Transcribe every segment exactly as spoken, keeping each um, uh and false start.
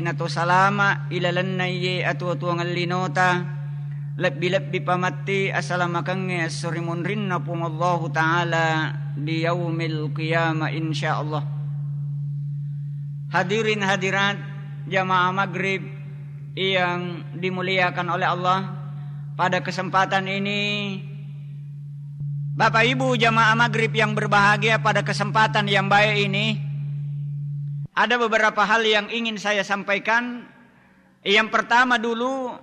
Nato salama ilalenna iye atuo-tuongeng linota, lebbi-lebbi pamatti asalamakengnge esso ri munrinna Puang Allahu Ta'ala di yaumil qiyamah, insyaallah. Hadirin hadirat jamaah maghrib yang dimuliakan oleh Allah, pada kesempatan ini, Bapak Ibu jamaah maghrib yang berbahagia, pada kesempatan yang baik ini, ada beberapa hal yang ingin saya sampaikan. Yang pertama dulu,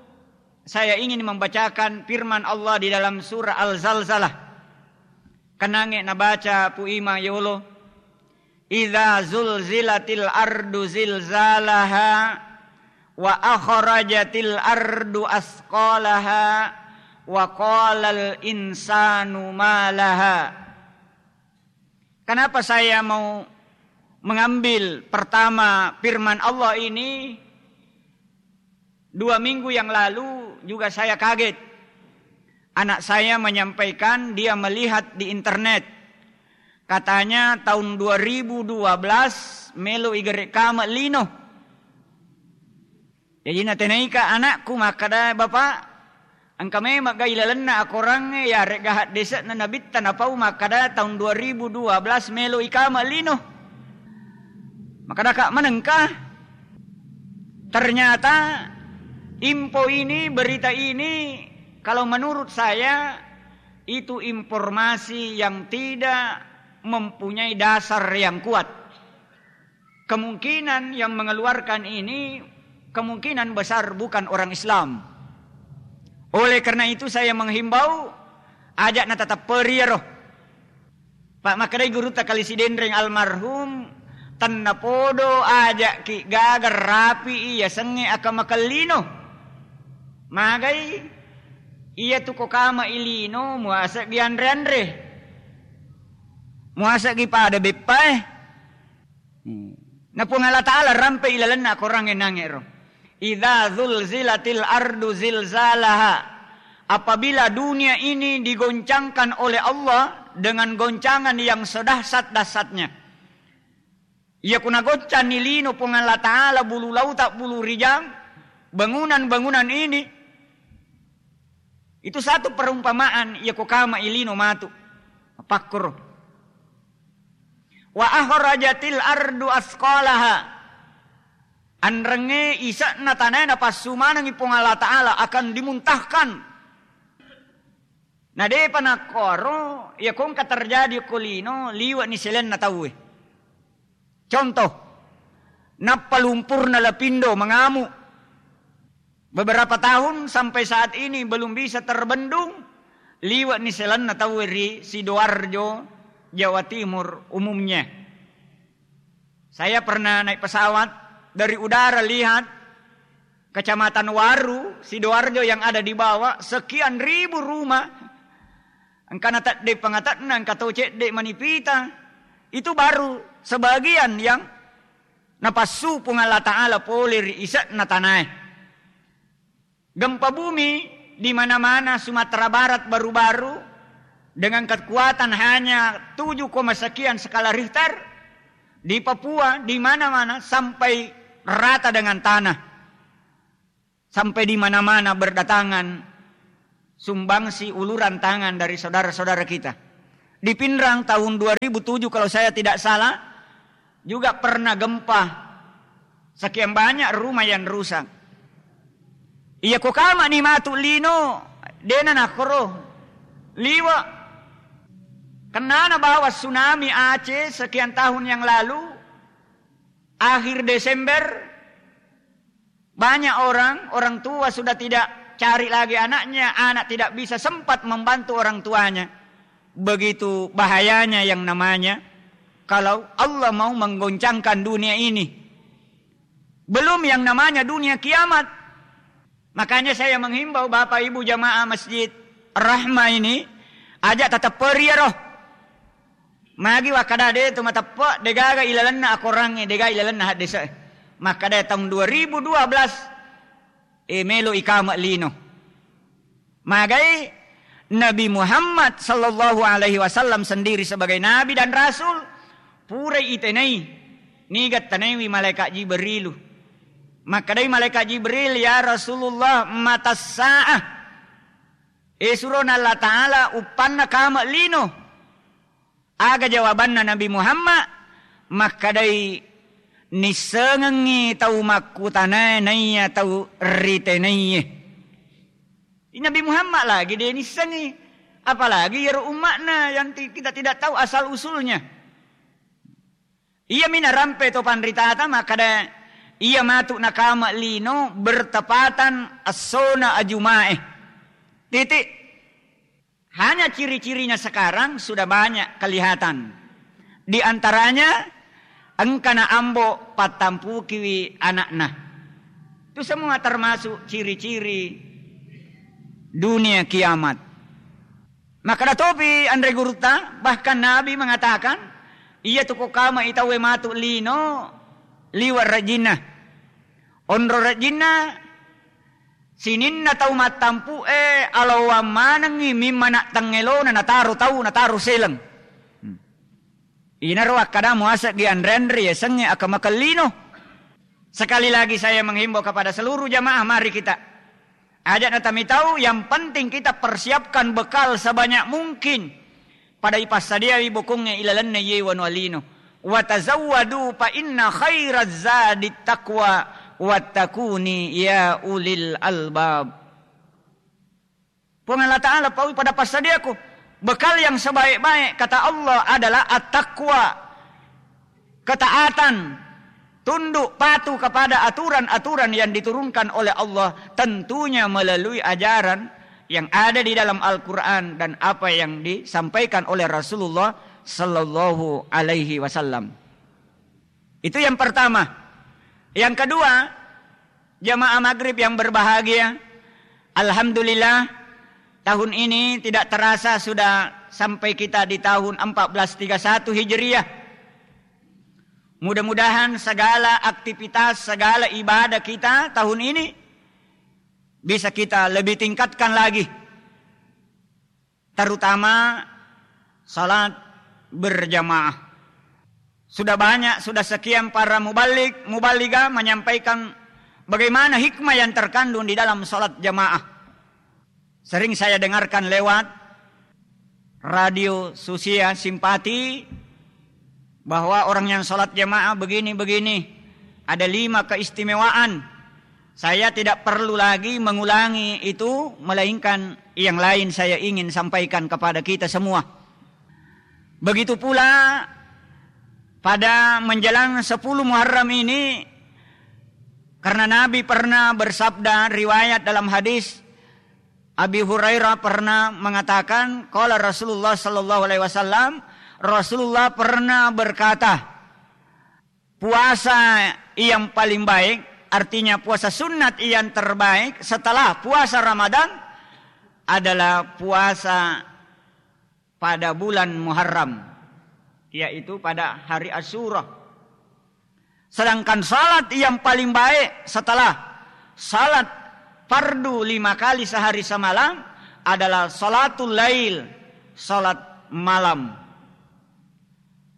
saya ingin membacakan firman Allah di dalam surah Al-Zalzalah. Kenange nabaca Pu Ima yolo. "Idza zulzilatil ardu zilzalaha wa akhrajatil ardu asqalaha wa qalal insanu ma laha." Kenapa saya mau mengambil pertama firman Allah ini? Dua minggu yang lalu juga saya kaget. Anak saya menyampaikan dia melihat di internet. Katanya tahun dua ribu dua belas melo igere kama lino. Jaji natenaika anakku makkada, "Bapak, engka memang ga ilalenna akorangnge yaregga haddese'na nabitta napau makkada tahun dua ribu dua belas melo ikama lino?" Makkadaka manengka. Ternyata info ini, berita ini, kalau menurut saya, itu informasi yang tidak mempunyai dasar yang kuat. Kemungkinan yang mengeluarkan ini kemungkinan besar bukan orang Islam. Oleh karena itu saya menghimbau, aja' natatepperi iyaro. Pa' makkedai gurutta Kali Sidenreng almarhum, "Tennapodo aja'ki gaga rapi'i yasengnge akamakellino." Magai, iyatu ko kama'i lino, muase'gi anre-anre. Muase'gi pada beppae. Hmm. Na Puang Allah Ta'ala rampe ilalenna akorangnge nangero. "Idza zulzilatil ardu zilzalaha." Apabila dunia ini digoncangkan oleh Allah dengan goncangan yang sedahsyat-dahsyatnya. Iya ku nagoncanni lino Puang Allah Ta'ala, bulu lauta, bulu rijang, bangunan-bangunan ini, itu satu perumpamaan, iya ko kama'i lino matu. Pakkoro. "Wa akhrajatil ardu asqalaha." Anrengnge ise'na tanae napassu manengngi Puang Allah Ta'ala akan dimuntahkan. Na depa nakkoro, iya ko engka terjadi ko lino, liwe'ni selenna tauwe. Contoh, nappa lumpurna Lapindo mangamu. Beberapa tahun sampai saat ini belum bisa terbendung, liwe'ni selenna tauwe ri Sidoarjo, Jawa Timur umumnya. Saya pernah naik pesawat dari udara, lihat Kecamatan Waru, Sidoarjo yang ada di bawah, sekian ribu rumah. Engka natedde pangate'na, engka to cedde manipita. Itu baru sebagian yang napassu Puang Allah Ta'ala pole ri ise'na tanae. Gempa bumi di mana-mana Sumatera Barat baru-baru dengan kekuatan hanya tujuh koma sekian skala Richter, di Papua, di mana-mana sampai rata dengan tanah. Sampai di mana-mana berdatangan sumbangsi uluran tangan dari saudara-saudara kita. Di Pinrang tahun dua ribu tujuh, kalau saya tidak salah, juga pernah gempa. Sekian banyak rumah yang rusak. Iya ko kama'ni matu lino, dena nakkoro liwe'. Kennana bawa tsunami Aceh sekian tahun yang lalu, akhir Desember, banyak orang, orang tua sudah tidak cari lagi anaknya, anak tidak bisa sempat membantu orang tuanya. Begitu bahayanya yang namanya kalau Allah mau menggoncangkan dunia ini. Belum yang namanya dunia kiamat. Makanya saya menghimbau Bapak Ibu jamaah Masjid Rahmah ini, aja' tatepperi iyaro. Magi wakkada de' tu mateppe', de'gaga ilalenna akorangnge, de'gaga ilalenna haddese'e. Makkada taung dua ribu dua belas, e, melo ikama' lino. Magai Nabi Muhammad sallallahu alaihi wasallam sendiri sebagai nabi dan rasul, purai itenai, niga tanaiwi malaikat Jibrilu. Makkedai malaikat Jibril, "Ya Rasulullah, mata sa'ah?" E surona Allah Ta'ala, uppanna kame' lino. Aga jawabanna Nabi Muhammad? Makkedai, "Nissengengngi tau makkutanae naiya tau ritenaiye." Nabi Muhammad lagi de' nissengngi, apalagi iyaro umma'na yang ti-, kita tidak tahu asal usulnya. Iyami narampe to panritata makkeda, iya matu nakame' lino bertepatan essona ajumae. Titik. Hanya ciri-cirinya sekarang sudah banyak kelihatan. Di antaranya, engkana ambo pattampukiwi anakna. Itu semua termasuk ciri-ciri dunia kiamat. Makkeda topi anre gurutta, bahkan Nabi mengatakan, iya tu ko kame' i tauwe matu lino liwa' rajinna. Onro rajinna, sininna tau mattampu'e alawang manengngi mimma na' tengngelona nataro tau, nataro seleng. Hmm. Inaro akkada muaseggi anre-anre yasengnge akkamakellino. Sekali lagi saya menghimbau kepada seluruh jamaah, mari kita ajak natami tau, yang penting kita persiapkan bekal sebanyak mungkin. Pada ipassadiawi bokongnge ilalenna iye wanua lino. "Wa tazawwadu fa inna khairaz zadit taqwa wattaquni ya ulil albab." Puang Allah Ta'ala, paui pada passadiaku bekal yang sebaik-baik, kata Allah, adalah at-taqwa, ketaatan, tunduk patuh kepada aturan-aturan yang diturunkan oleh Allah, tentunya melalui ajaran yang ada di dalam Al-Quran dan apa yang disampaikan oleh Rasulullah sallallahu alaihi wasallam. Itu yang pertama. Yang kedua, jamaah maghrib yang berbahagia, alhamdulillah, tahun ini tidak terasa sudah sampai kita di tahun empat belas tiga satu Hijriah. Mudah-mudahan segala aktivitas, segala ibadah kita tahun ini bisa kita lebih tingkatkan lagi, terutama salat berjamaah. Sudah banyak, sudah sekian para muballig, muballigah menyampaikan bagaimana hikmah yang terkandung di dalam salat jamaah. Sering saya dengarkan lewat radio Susia Simpati bahwa orang yang salat jamaah begini-begini, ada lima keistimewaan. Saya tidak perlu lagi mengulangi itu, melainkan yang lain saya ingin sampaikan kepada kita semua. Begitu pula pada menjelang sepuluh Muharram ini, karena Nabi pernah bersabda, riwayat dalam hadis, Abi Hurairah pernah mengatakan, qala Rasulullah sallallahu alaihi wasallam, Rasulullah pernah berkata, puasa yang paling baik, artinya puasa sunat yang terbaik setelah puasa Ramadan adalah puasa pada bulan Muharram, yaitu pada hari Asyura. Sedangkan salat yang paling baik setelah salat fardu lima kali sehari semalam adalah salatul lail, salat malam.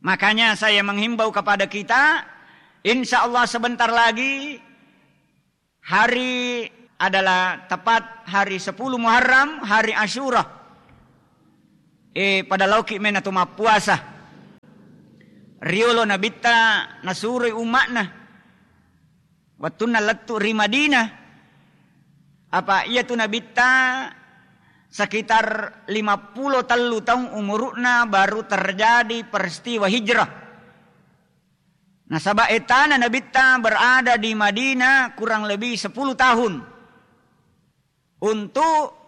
Makanya saya menghimbau kepada kita, insya Allah sebentar lagi hari adalah tepat hari sepuluh Muharram, hari Asyura. Eh, pada laoki mena tu mappuasa. Riolo Nabitta nasuroi umma'na wettunna lettu ri Madinah. Apa iya tu Nabitta sekitar lima puluh tellu taung umuru'na baru terjadi peristiwa hijrah. Nasaba ettana Nabitta berada di Madinah kurang lebih sepuluh tahun untuk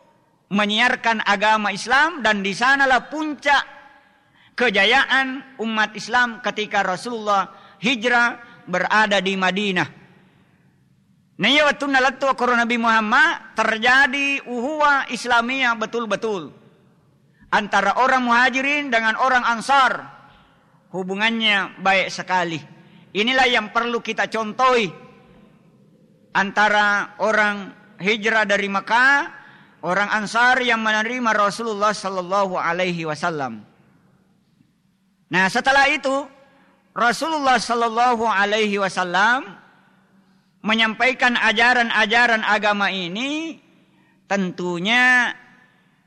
menyiarkan agama Islam, dan di sanalah puncak kejayaan umat Islam ketika Rasulullah hijrah berada di Madinah. Naiya wettunna lettu akkoro Nabi Muhammad, terjadi uhuwah Islamiyah betul-betul antara orang Muhajirin dengan orang Ansar. Hubungannya baik sekali. Inilah yang perlu kita contohi antara orang hijrah dari Mekah, orang Ansar yang menerima Rasulullah sallallahu alaihi wasallam. Nah, setelah itu Rasulullah sallallahu alaihi wasallam menyampaikan ajaran-ajaran agama ini tentunya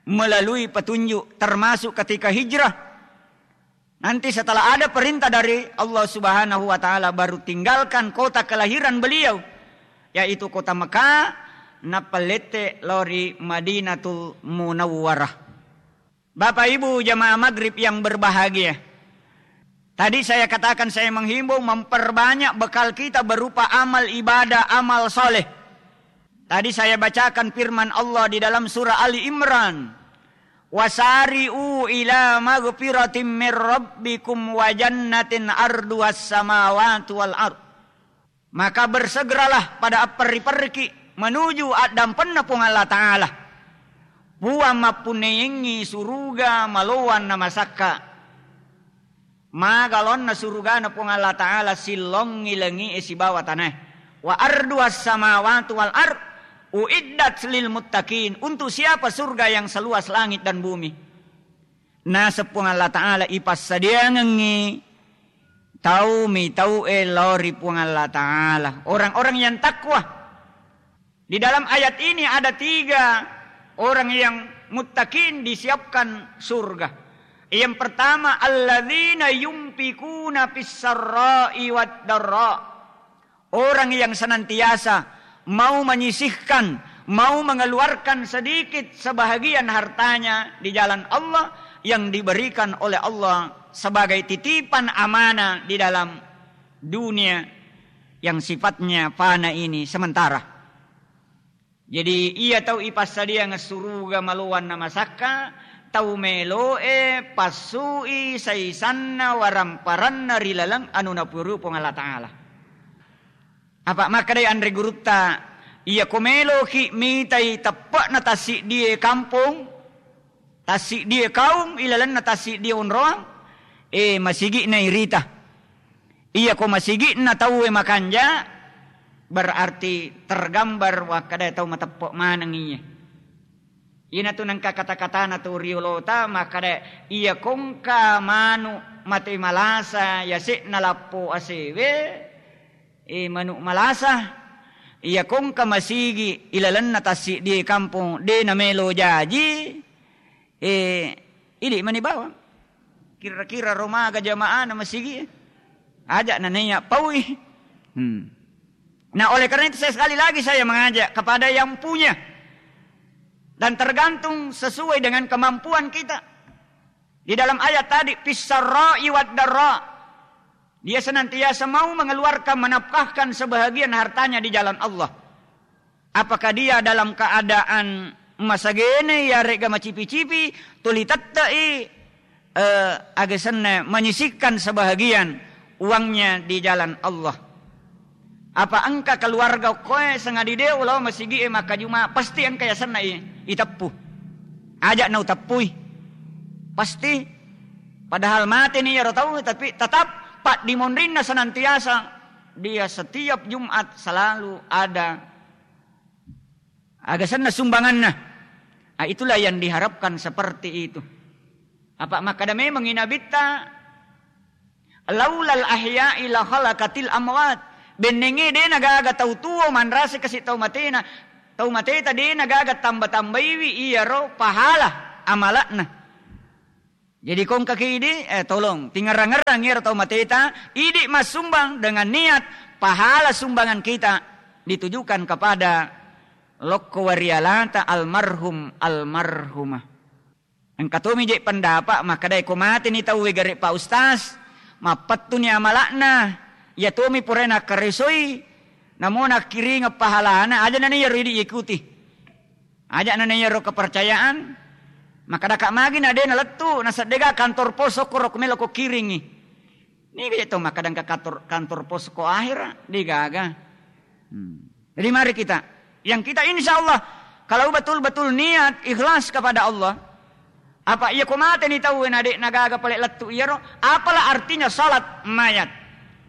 melalui petunjuk, termasuk ketika hijrah. Nanti setelah ada perintah dari Allah Subhanahu wa Ta'ala, baru tinggalkan kota kelahiran beliau, yaitu kota Mekah, nappa lette lao ri Madinatul Munawwarah. Bapak Ibu jamaah maghrib yang berbahagia, tadi saya katakan, saya menghimbau memperbanyak bekal kita berupa amal ibadah, amal soleh. Tadi saya bacakan firman Allah di dalam surah Ali Imran, "Wasari'u ila magfiratim mir rabbikum wa jannatin arduhas samawati wal ard." Maka bersegeralah pada apperri-perriki menuju addampenna Puang Allah Ta'ala. Puang mappunneyengngi suruga maloang namasakka. Maga laonna surugana Puang Allah Ta'ala sillongngi langi'e sibawa tanae. Wa arduhas samawati wal ard uiddat lil muttaqin. Untuk siapa surga yang seluas langit dan bumi? Naseng Puang Allah Ta'ala ipassadiangengngi tau mitau'e lao ri Puang Allah Ta'ala, orang-orang yang takwa. Di dalam ayat ini ada tiga orang yang muttaqin disiapkan surga. Yang pertama, alladzina yunfikuna fis sarra'i wad darra. Orang yang senantiasa mau menyisihkan, mau mengeluarkan sedikit sebahagian hartanya di jalan Allah yang diberikan oleh Allah sebagai titipan amanah di dalam dunia yang sifatnya fana ini, sementara. Jadi, iya tau ipassadiang suruga maloang namasakka, tau melo'e passui saisanna waramparanna ri laleng anu napuru Puang Allah Ta'ala. Apa makkedai anre gurutta, iya ko meloki mitai teppe'na tassiddie kampong, tassiddie kaum ilalenna tassiddie onroang, eh, masigi'na irita. Iya ko masigi'na tauwe makanja, berarti tergambar wakkeda tau mateppe' maneng iye. Iyanatu nengka kata-katana tu riolota makkeda, iya kongka manu mate malasa yase'na lappo asewe, eh, manu malasa, iya kongka masigi ilalenna tassiddie kampong de namelo jaji, eh, idi mani bawang. Kira-kira ro maga jamaahna masigi? Aja' na naiya paui. Hmm. Nah, oleh karena itu saya sekali lagi saya mengajak kepada yang punya. Dan tergantung sesuai dengan kemampuan kita. Di dalam ayat tadi, fis sarra'i wad darra. Dia senantiasa mau mengeluarkan, menafkahkan sebahagian hartanya di jalan Allah. Apakah dia dalam keadaan masagene, yarega macipi-cipi, tuli tette'i, eh, aga senna menyisihkan sebahagian uangnya di jalan Allah? Apa engka keluarga okkoe sengadi de' ulao masigi'e makkajuma, pasti engka yasenna i-, iteppu. Aja' nauteppui. Pasti. Padahal mateni iyaro tau, tapi tetap paddimonrinna senantiasa dia setiap Jumat selalu ada aga senna sumbanganna. Ah, itulah yang diharapkan seperti itu. Apa makkeda memengngi Nabitta, "Laulal ahya'i la khalaqatil amwat." Bennenge de' nagaga tau tuo manrasa kasi' tau matena, tau mateta de' nagaga tamba-tambaiwi iyaro pahala amala'na. Jadi kongkaki idi, eh, tolong, tingerang-ngerang iyaro tau mateta, idi massumbang dengan niat pahala sumbangan kita ditujukan kepada lokko warialata almarhum, almarhumah. Engka tomi je' pendapat makkedae ko mateni tauwe gare' Pak Ustaz, mappettuni amala'na, iya tomi purae nakkaresoi, namo nakkiringeng pahalana, aja' nani iyaro idi ikuti. Aja' nani iyaro kepercayaan, makkedaka magi na de' nalettu, naseddega kantor pos okkoro ko melo ko kiringi. Niga je' to makkeda engka kantor, kantor pos ko ahera, de'gaga. Hmm. Jadi mari kita, yang kita insya Allah, kalau betul-betul niat ikhlas kepada Allah, apa iya ko mateni tauwe na de' nagaga pale lettu iyaro, apalah artinya salat mayat?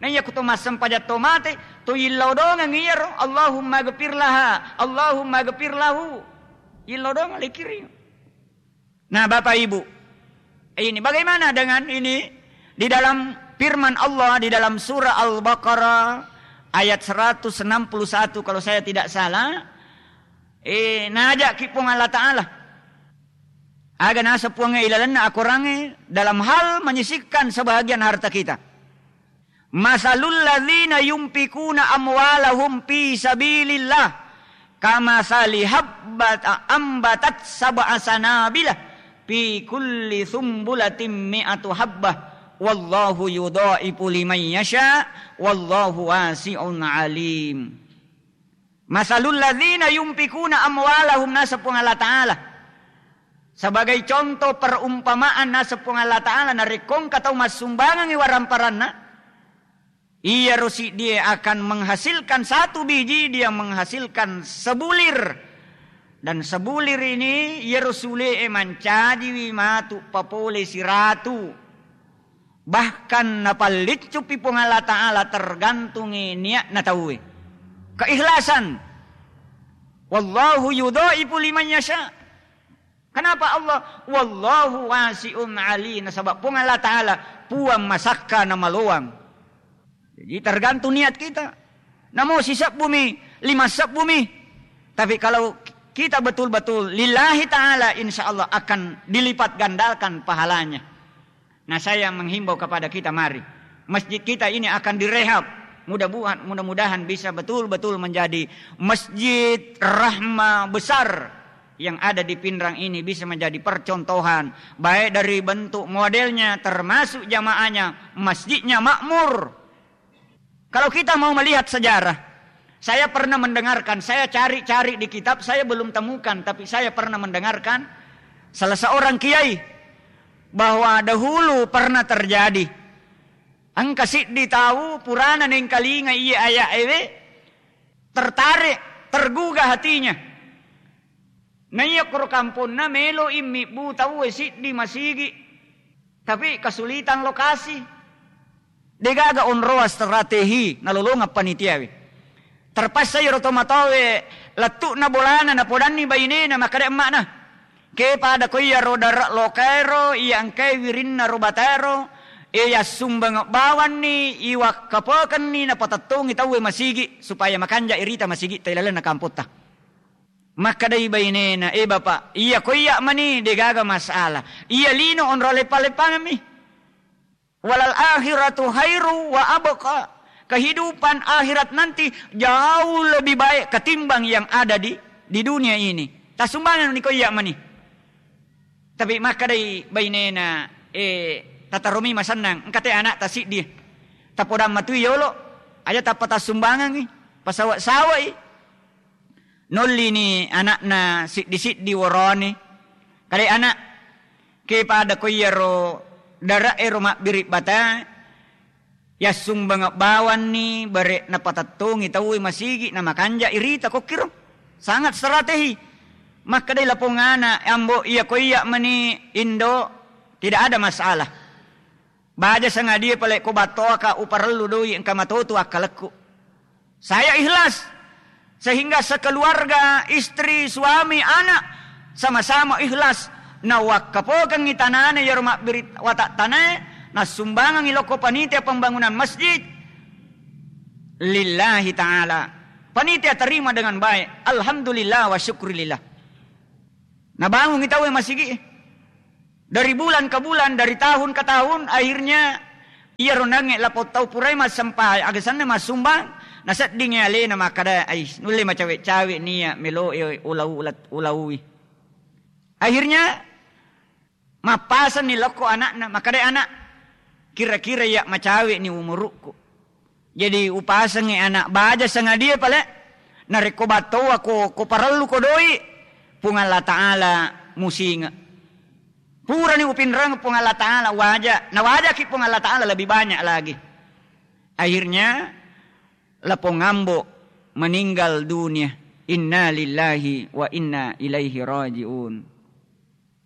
Na iya ko to massempajang to mate, to yillau dongeng iyaro, Allahumma gfir laha, Allahumma gfir lahu. Yillau dongeng lekiri. Nah, Bapak Ibu, ini bagaimana dengan ini? Di dalam firman Allah di dalam surah Al-Baqarah ayat seratus enam puluh satu kalau saya tidak salah, eh, najaki Puang Allah Ta'ala. Aga naseng Puang ilalenna akorangnge dalam hal menyisihkan sebahagian harta kita. Masalul ladzina yunfikuna amwalahum fi sabilillah kamatsali habbat ambatat sab'a sanabila fi kulli sumbulatin mi'atu habbah wallahu yudha'ifu liman yasha wallahu wasi'un alim. Masalul ladzina yunfikuna amwalahum, naseng Puang Allah Ta'ala. Sebagai contoh perumpamaan, naseng Puang Allah Ta'ala, narekko engka tau massumbangangi waramparanna, iyaro siddie akan menghasilkan satu biji, dia menghasilkan sebulir. Dan sebulir ini, iyaro sule'e mancajiwi matu papole siratu. Bahkan napalliccupi Puang Allah Ta'ala, tergantungi niatna tauwe. Keikhlasan. Wallahu yudhaifu liman yasha. Kenapa Allah? Wallahu wasi'un ali. Nasaba Puang Allah Ta'ala, Puang masakka na maloang. Jadi tergantung niat kita. Namo sisebbumi, lima sebbumi. Tapi kalau kita betul-betul lillahi ta'ala, insya Allah akan dilipat gandakan pahalanya. Nah, saya menghimbau kepada kita, mari. Masjid kita ini akan direhab. Mudah-mudahan, mudah-mudahan bisa betul-betul menjadi masjid rahma besar yang ada di Pinrang ini, bisa menjadi percontohan, baik dari bentuk modelnya, termasuk jamaahnya, masjidnya makmur. Kalau kita mau melihat sejarah, saya pernah mendengarkan, saya cari-cari di kitab, saya belum temukan, tapi saya pernah mendengarkan salah seorang kiai bahwa dahulu pernah terjadi. Engka siddi tau purana nengkalinga iye aya'ewe, tertarik, tergugah hatinya. Naiya koro kamponna melo immibbu tauwe siddi masigi, tapi kesulitan lokasi. Degaga onroa strategi nalolongeng panitiawe. Terpaksa iyaro tomatoawe lettu'na bolana napodanni bainena, makkeda emma'na, ke pada ko iyaro dare' lokaero, iya engkae wirinna ro bataero, e yassumbang bawanni, iwakkapokenni, napatettongi tauwe masigi supaya makanja irita masigitta ilalenna kampotta. Makkedai bainena, "Eh, Bapak, iya ko iya mani, degaga masalah. Iya lino onro leppa-leppangemmi. Walal akhiratu khairu wa abqa. Kehidupan akhirat nanti jauh lebih baik ketimbang yang ada di, di dunia ini. Tasumbangan ni ko iya mani." Tapi makkedai bainena, "Eh, tataromi masennang, engka te anakta siddi. Tapodang matui yolo, aja tappa tassumbangangi, pasawa-sawai." Nollini ana'na siddi-siddi woroni. Kale ana', ke pada ko iyaro dare'e ro mabbiri bata, yassumbang bawanni bare' napatettongi tauwe masigi, namakanja irita kokkiro. Sangat strategi. Makkedai lapong ana', "Ambo, iya ko iya mani indo, tidak ada masalah. Baja sangadie pale ko battoaka uparellu doi engka matotu akkalekku." Saya ikhlas, sehingga sekeluarga, istri, suami, anak, sama-sama ikhlas. Nawakkapokengngi tanana iyaro mabbiri watak tanae, nassumbangengngi lokko panitia pembangunan masjid lillahi ta'ala. Panitia terima dengan baik. Alhamdulillah wa syukrillah. Nabangungngi tauwe masigi. Dari bulan ke bulan, dari tahun ke tahun, akhirnya iyaro nangnge lapong tau purai massempajang, aga senna massumbang, naseddingngi alena makkeda, "Ais, nulle macawe-cawe nia melo e ulau-, ulat-, ulaui." Akhirnya mappasenni lokko ana'na, makkeda ana', "Kira-kira iya macawe ni umurukku." Jadi, upasengngi ana' baja sangadie pale, narekko battoa ko, ko parellu ko doi, Puang Allah Ta'ala musinge. Purani upinreng Puang Allah Ta'ala waja, nawajaki Puang Allah Ta'ala lebih banyak lagi. Akhirnya, lapong ambo meninggal dunia. Inna lillahi wa inna ilaihi raji'un.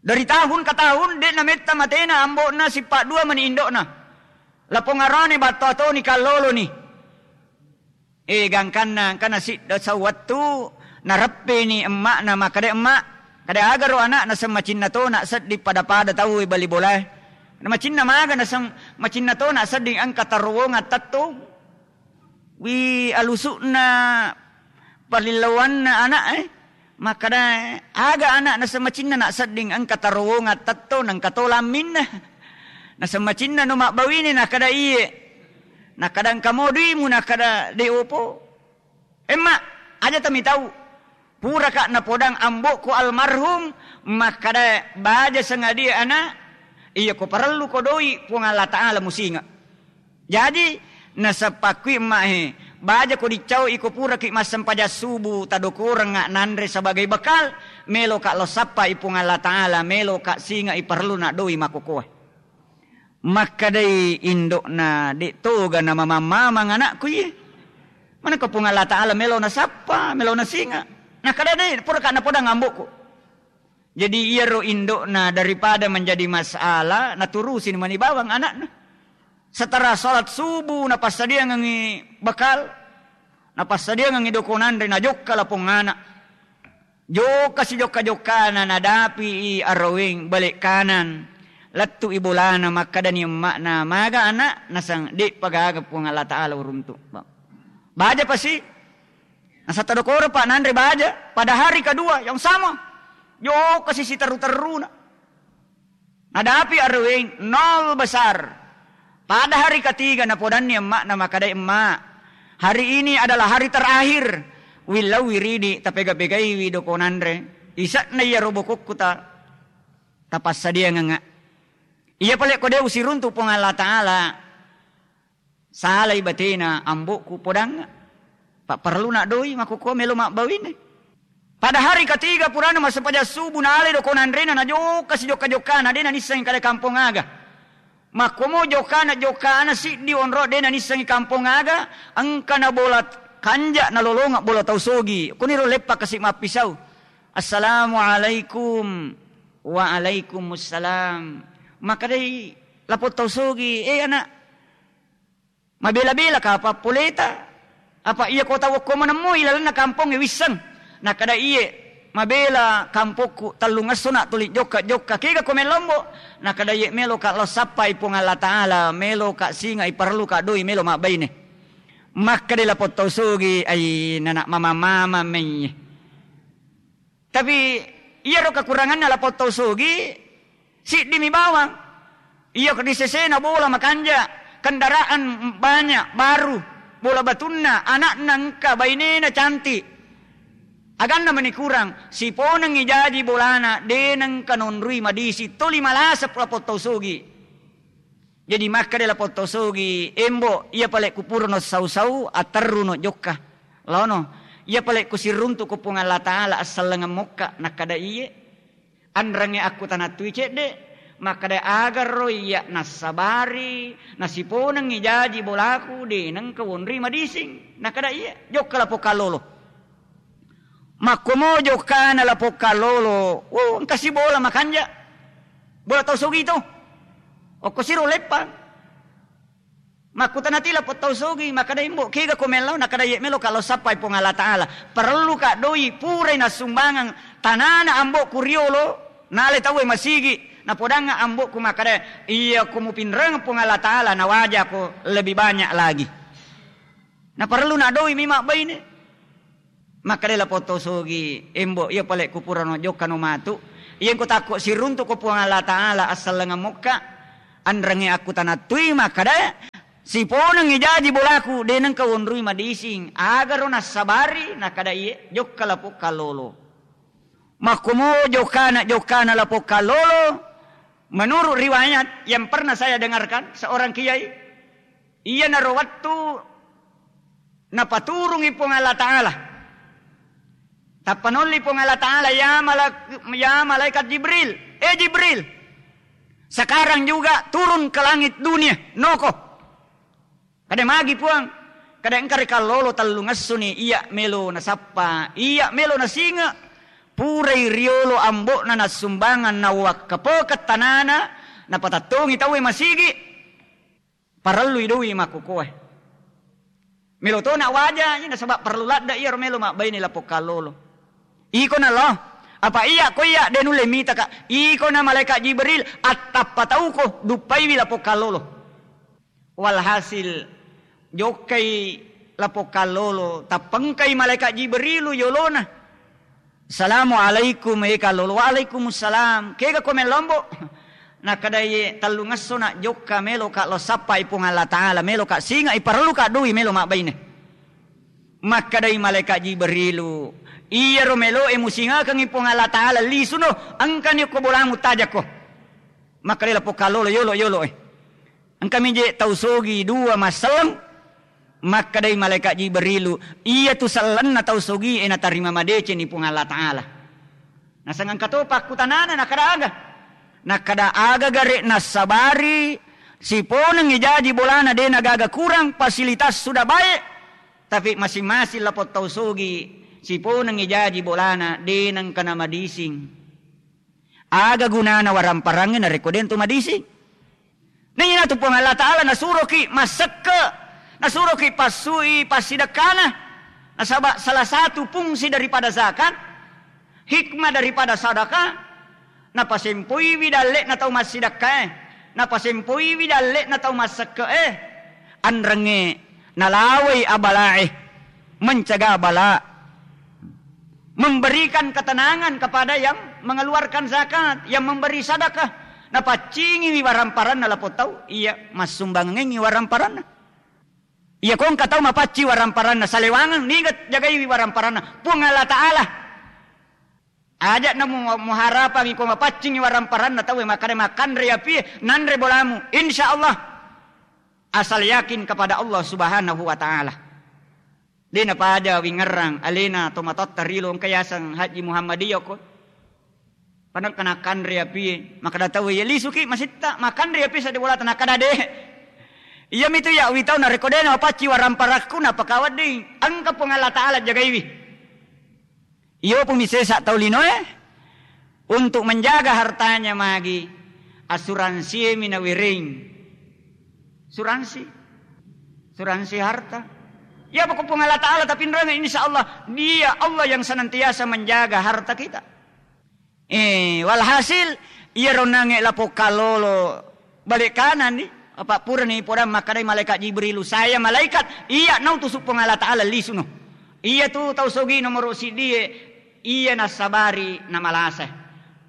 Dari tahun ke tahun, de' nametta matena ambo'na sippa dua mani indo'na. Lapong arane battoa toni kalloloni. Eh, gangkanna, engkana sidda sawwettu, nareppeni emma'na, makkeda, "Emma', kada agaro ana'na seng macinna tona sedding pada-pada tauwe bali bolae. Macinna maga naseng macinna tona sedding engka tarowongang tettong." Wi alusu'na palillauanna ana'e, makkeda, "Aga anak naseng macinna nak sedding, engka tarowongang tetto, nengka to lamminna." Naseng macinna no mabbawine, nakkeda, "Iye." Nakkeda, "Engka mo duimu?" Nakkeda, "De' opo." "Emma, aja tamitau." Puraka napodang ambo'ku almarhum, makkeda, "Baja sengadia anak, iya ko parellu ko doi, Puang Allah Ta'ala musinga." Jaji, naseppakui emma he, baja ko diccau iko puraki massempajang subuh, tadokorengnga nanre sebagai bekal, meloka lo sappai Puang Allah Ta'ala, meloka singa i parellu na doi makokoe. Makkedai indo'na, "De' toga namamang-mamang anakku iye. Manengka Puang Allah Ta'ala melo nasappa, melo nasinga." Nakkeda, "De', puraka napodang ambo'ku." Jadi iyaro indo'na daripada menjadi masalah, naturusi mani bawang anakna. Setelah salat subuh, napassadiangengngi bekal, napassadiangengngi doko nanre, najokka lapong anak. Jokka sijokka-jokkana, nadapi i araweng bale' kanan. Lettu i bolana, makkedani emma'na, "Maga anak?" Naseng, "De'pa gaga, Puang Allah Ta'ala uruntu." Baja pasi. Naseng, "Tadokoro pa nanre baja." Pada hari kedua yang sama. Jokka si siterru-terruna. Nadapi araweng nol besar. Pada hari ketiga napodanni emma'na, makkedai, "Emma, hari ini adalah hari terakhir. Willau wiridi, tapega-pegaiwi doko nanre. Ise'na iyaro bokokku ta, tapassadiangengnga. Iya pale ko de' usiruntu Puang Allah Ta'ala." Salai batena ambo'ku podangnga. Pa parelluna doi makkukua melo mabbawine. Pada hari ketiga purana massempajang subuh, nalai doko nanrena, najokka sijokka-jokkana, de' nanissengi kada kampong aga. Makkuamo jokkana, jokkana siddi onro, de' nanissengi kampong aga, engka na bola kanja, nalolonga bola tau sogi. Kuniro leppa kasi mappisau. "Assalamualaikum." "Waalaikumussalam." Makkedai lapong tau sogi, "Eh, anak, mabela-bela ka apa poleta? Apa iya ko tau okko manemmo ilalenna kampongnge wisseng?" Nakkeda, "Iye, mabela kampokku, tellungesso na tuli jokka-jokka. Kega ko mellombo?" Nakkeda, "Iye, meloka lo sappai Puang Allah Ta'ala, meloka singa i, parelluka doi, melo mabbaine." Makkedai lapong tau sogi, "Ai, nanak mama-mama mei." Tapi iyaro kekuranganna lapong tau sogi, siddimi bawang. Iya ri sesena bola makanja, kendaraan banyak, baru, bola batunna, anakna engka, bainena cantik. Aganna meni kurang, siponengngi jaji bolana, de' nengka nonrui madising, toli malasa lapong tau sogi. Jadi makkeda lapong tau sogi, "Embo, iya pale kupurano sau-sau, atterruno jokka. Laono, iya pale kusiruntu ko Puang Allah Ta'ala, assellengeng mokka." Nakkeda, "Iye." Anrengnge akkutanattui cedde, makkeda, "Agaro iya nassabari, nasiponengngi jaji bolaku, de' nengka wonrui madising?" Nakkeda, "Iye." Jokka lapong kallolo. Makkuamo jokkana lapong kallolo, "Wo, engka si bola makanja. Bola tau sogi to. Okko siro leppang." Makkutanati lapong tau sogi, makkeda, "Embo, kega ko mellau?" Nakkeda, "Iye, meloka lo sappai Puang Allah Ta'ala. Parelluka doi, purai nassumbangeng tanana ambo'ku riolo, nale tauwe masigi. Napodangnga ambo'ku makkeda, iya ko mupinreng Puang Allah Ta'ala, nawajako lebih banyak lagi." Naparellu na doi mi mabbaine. Makkeda lapong tau sogi, "Embo, iya pale kupurano jokkano matu. Iya engko takko siruntu ko Puang Allah Ta'ala, assellengeng mokka." Anrengnge akkutanattui makkeda, "Siponengngi jaji bolaku, de' nengka wonrui madising. Agaro nassabari?" Nakkeda, "Iye." Jokka lapong kallolo. Makkuamo jokkana, jokkana lapong kallolo. Menurut riwayat yang pernah saya dengarkan seorang kiai, iyanaro wettu napaturungi Puang Allah Ta'ala. Tappa nolli Puang Allah Ta'ala, "Ya malak-, ya malaikat Jibril, eh Jibril, sekarang juga turun ke langit dunia, noko." Kada, "Magi Puang?" Kada, "Engka ri kallolo tellungessuni, iya melo nasappa, iya melo nasinge, purai riolo ambo'na nassumbangeng, nawakkapokeng tanana, napatettongi tauwe masigi. Parellui doi makkukoe. Melo tona waja, nasaba parellu ladde iyaro melo mabbaine lapong kallolo." Iko na lo, "Apa iya ko iya de nulle mitaka?" Iko na malaikat Jibril, "Attappa tauko, duppaiwi lapong kallolo." Walhasil, jokkai Lapong kallolo, tappengkai malaeka Jibrilu yolona. "Assalamualaikum, e kallolo." "Waalaikumsalam. Kega ko melombo?" Nakkadai, "Tellungesso na jokka, meloka lo sappai Puang Allah Taala, meloka singai, parelluka dui melo mabbaine." Makkadai malaeka Jibrilu, "Iyaro meloe musingakengngi Puang Allah Taala, lisuno, engkani okko bolamu, tajakko." Makkadai lapong kallolo, "Yolo, yolo, e." Engkami je tau sogi dua masselleng. Makkadai malaeka Jibrilu, "Iyatu sellenna tau sogie natarima madecenni Puang Allah Taala." Naseng engka to pakkutanana, nakkada aga? Nakkada aga gare nassabari, siponengngi jaji bolana de nagaga kurang, fasilitas sudah baik, tapi masing-masing lapong tau sogi siponengngi jaji bolana de nengka namadising. Aga gunana waramparangnge narekko de tu madising? Nainatu Puang Allah Taala nasuroki massekke, nasuroki passui passidekkana. Nasaba salah satu fungsi daripada zakat, hikmah daripada sadaka, napasempoiwi dalle'na tau massidekkae, napasempoiwi dalle'na tau massekke'e, anrengnge nalawai abalae, mencegah bala, memberikan ketenangan kepada yang mengeluarkan zakat, yang memberi sedekah. Napaccingiwi waramparanna lapong tau, iya, massumbangengngi waramparanna. Iya, ko engka tau mapacci waramparanna, salewangeng, niga jagaiwi waramparanna? Puang Allah Taala. Aja' namu-, muharapangi ko mapaccingi waramparanna tauwe, makkada makkanre apie, nanre bolamu. Insya Allah. Asal yakin kepada Allah Subhanahu wa Ta'ala. De napaja wingerrang alena tomatoatta rilo engka yaseng Haji Muhammadiyah ko. Padang kana kanre apie, makkada tauwe, "Iya lisuki masitta, makanre apie sadde bolata," nakkada de. Iyamitu ya witau narekko de napacci waramparakku napakawedding, engka Puang Allah Taala jagaiwi. Iyo pumi sesa tau linoe untuk menjaga hartanya magi, asuransi mi nawereng. Suransi. Suransi harta. Ya pokok Puang Allah Taala tapinreng, insya Allah Dia Allah yang senantiasa menjaga harta kita. Eh, walhasil, iyaro nange lapong kallolo bale kananni, apa purani podang makkadai malaikat Jibrilu, "Saya malaikat, iya nautusu Puang Allah Taala lisuno." Iya tu tau sogi nomoro siddie, iya nassabari namalasa.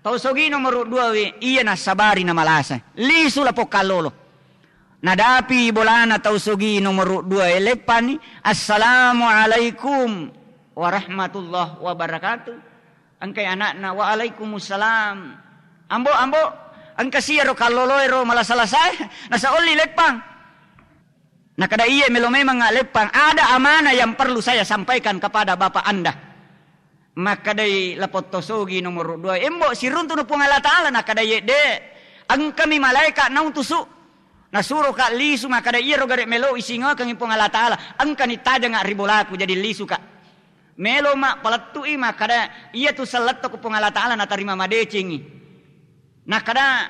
Tau sogi nomoro dua we, iya nassabari namalasa. Lisu lapong kallolo. Nadapi bolana tau sogi nomoro dua e, leppani, "Assalamualaikum warahmatullahi wabarakatuh." Engkai anakna, "Waalaikumsalam." "Ambo, ambo, engka siyaro kalloloe ro malasa-lasae, nasa olli leppang." Nakada, "Iye, melo memang leppang, ada amanah yang perlu saya sampaikan kepada bapak Anda." Makkadai lapong tau sogi nomoro dua, "Embo, siruntuno Puang Allah Taala." Nakkada, "Iye, de, engkami malaika nautusu, nasuroka lisu." Makkada, "Iyaro gare melo isingakengi Puang Allah Taala, engkani tajanga ri bolaku, jadi lisuka." Melo ma palettu'i makkada, "Iyatu selletto ko Puang Allah Taala natarima madecengi." Nakkada,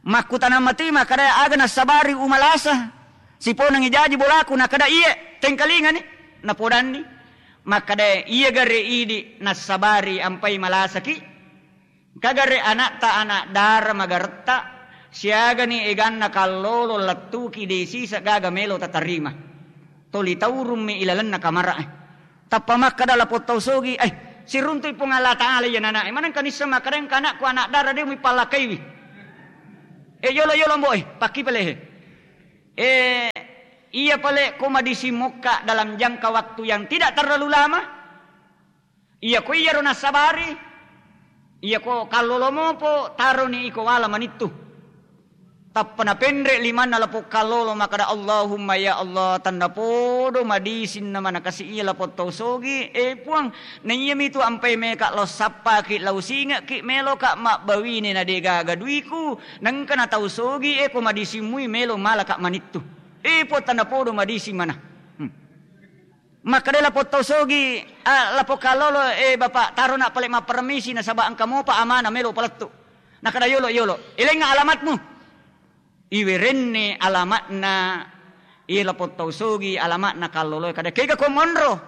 makkutanang matui makkada, "Aga nassabari umalasa? Siponengngi jaji bolaku?" Nakkada, "Iye, tengkalingani." Napodanni makkada, "Iya gare idi nassabari ampai malasaki. Kagare anakta anak dara magaretta, siagani eganna kallolo lettuki de sisa gaga melo tatarima. Toli taurummi ilalenna kamara'e." Tappa makkada lapong tau sogi, "Eh, siruntui Puang Allah Taala iya nana'e. Manengka nisseng makkada engka anakku anak dara de muipallakaiwi. Eh, yolo-yolo mbo, eh, pakki pale, eh. Eh, iya pale ko madising mokka dalam jangka waktu yang tidak terlalu lama. Iya ko iyaro nassabari, iya ko kallolo mopo, taroni iko wala manittu." Tappa napenre limanna lapong kallolo makkada, "Allahumma ya Allah, tennapodo madisinna manakasi iya lapong tau sogi, eh Puang, na iyamitu ampai meka lao sappaki, lao singekki, meloka mabbawine na degaga duiku, nengka na tau sogi, eh ko madising mui melo malaka manittu. Eh Puang, tennapodo madising mana." Hmm. Makkeda lapong tau sogi, ah, lapong kallolo, "Eh, Bapak, tarona pale mappermisi nasaba engka mopa amana melo palettu." Nakkeda, "Yolo, yolo. Elengnga alamatmu." Iwerenne alamatna, iye lapong tau sogi, alamatna kalloloe. Kada, "Kega ko monro?"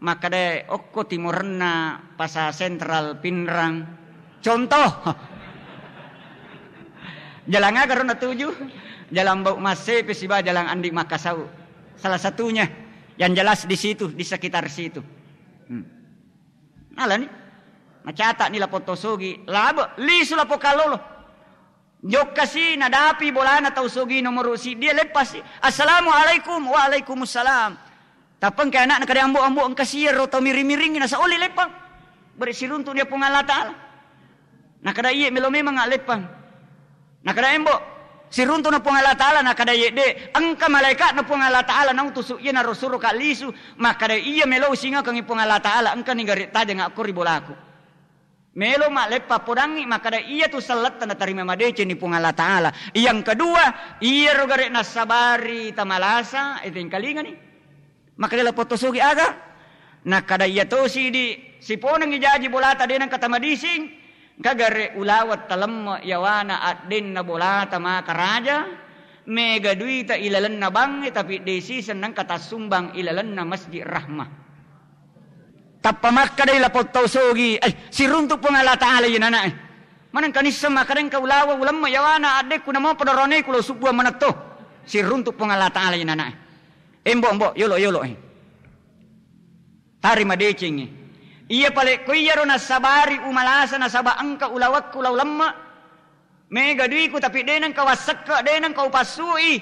Makkeda, "Okko timorenna Pasar Sentral Pinrang." Contoh. Jalan aga ro natuju? Jalan Bau Massepe siba Jalan Andi Makasau. Salah satunya. Yang jelas di situ, di sekitar situ. Hmm. Nalani. Macata'ni lapong tau sogi, labe, lisu lapong kallolo. Jokkasi nadapi bolana tau sogi nomoro siddi, leppasi. "Assalamualaikum." "Waalaikumsalam." Tappa engka ana'na kada ambo-ambo, engka siro tau miring-miring, nasa oli leppang. Bere siruntu dia Puang Allah Ta'ala. Nakada iye melo memang aleppang. Nakada embo, siruntu na Puang Allah Ta'ala, nakada iye de, engka malaikatna Puang Allah Ta'ala nautusu iye naro suro ka lisu, makkada iya melo usingakengi Puang Allah Ta'ala, engkani gare tajang akko ri bolaku. Melo malleppa podangi, makkada iya tu selletta natarima madecenni Puang Allah Ta'ala. Yang kedua, iyaro gare nassabari tamalasa, etengkalingani. Makkeda lapong to sogi aga? Nakkada iya tosi di siponengngi jaji bolata de nengka tamadising, engka gare ulaweng talemme yawana addenna bolata maka raja, mega duita ilalenna bangnge tapi de siseng nengka tassumbang ilalenna Masjid Rahmah. Tappa makkadai lapong tau sogi, "Eh, siruntu Puang Allah Ta'ala iye nana eh. Maneng kanisseng makkada engka ulaweng ulemme yawana addekku namo pada roneku lo subbuang manetto." Siruntu Puang Allah Ta'ala iye nana eh. Embo-embo, yolo-yolo, eh. Tari madecengngi. Iya pale ko iyaro nassabari umalasa nasaba engka ulawekku lao lemme. Mega duiku tapi de nengka wassekke, de nengka upassui.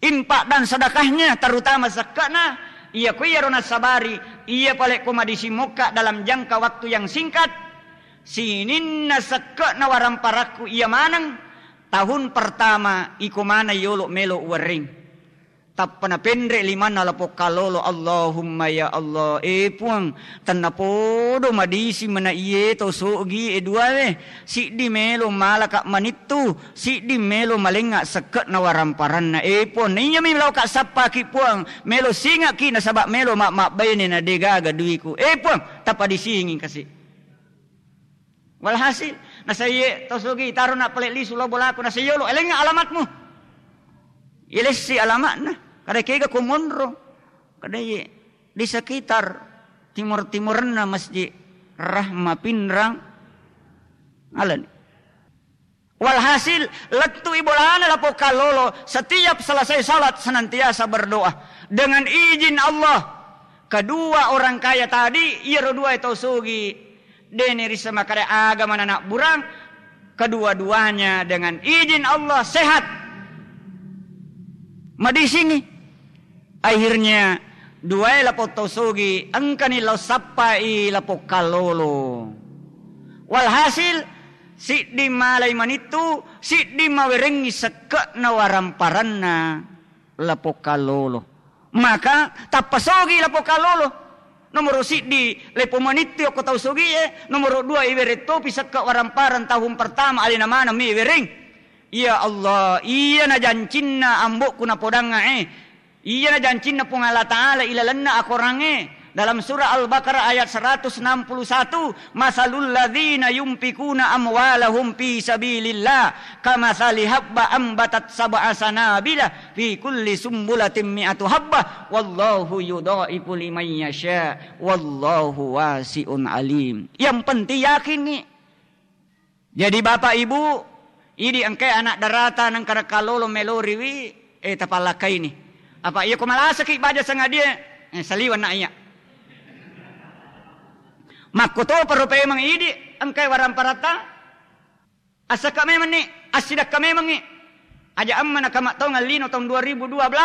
Infak dan sedekahnya, terutama sekke'na, iya ko iyaro nassabari, iya pale ko madisi mokka dalam jangka waktu yang singkat, sininna sekke'na waramparakku iya maneng, tahun pertama iko maneng yolo melo uwerreng. Tappa napenre limanna lapong kallolo, Allahumma ya Allah, eh Puang, tennapodo madisi mena iye to sogi e duae, siddi melo malaka manittu, siddi melo malengnga sekke'na waramparanna. Eh Puang, naiyami laoka sappaki Puang, melo singaki nasaba melo ma-, mabbaine na degaga duiku. Eh Puang, tappa disingi kasi. Walhasil, nasaiye to sogi taro na pale lisu lao bolaku, nasai yolo, elengnga alamatmu. Ilessi alamatna, kada kega ko monro, kada iye di sekitar timur-timurenna Masjid Rahma Pinrang. Alani. Walhasil, lettu'i bolana lapong kallolo, setiap selesai salat senantiasa berdoa. Dengan izin Allah, kedua orang kaya tadi, iyaro dua tau sogi, dene rissa makkada aga manana burang, kedua-duanya dengan izin Allah sehat. Madisingi. Akhirnya, duae lapong tau sogi, engkani lao sappai lapong kallolo. Walhasil, siddi malai manittu, siddi mawerengngi sekke'na waramparanna lapong kallolo. Maka, tappa sogi lapong kallolo. Nomoro siddi, lepo manittu okko tau sogie, nomoro dua, iwereng topi sekke' waramparang tahun pertama, alena maneng mi iwereng. Ya Allah, iyana jancinna ambo'ku napodangnga e. Iyana jancinna Puang Allah Ta'ala ilalenna akorangnge. Dalam surah Al-Baqarah ayat seratus enam puluh satu, "Masalul ladzina yunfikuna amwalahum fi sabilillah, kamatsali habba ambatat sab'a sanabila fi kulli sumbulatin mi'atu habbah, wallahu yudha'ifu liman yasha, wallahu wasi'un alim." Yang penting yakin nih. Jadi, Bapak Ibu, idi engkae anak darata nengka rekka lolo meloriwi, eh, tapallakkaini. Apa iya ko malasaki baja sangadie, eh, saliweng na iya. Makkotoparo paimeng idi engkae waramparatta, assakka memenni, assidakka memengngi. Aja amma nakamattaungeng lino taung dua ribu dua belas,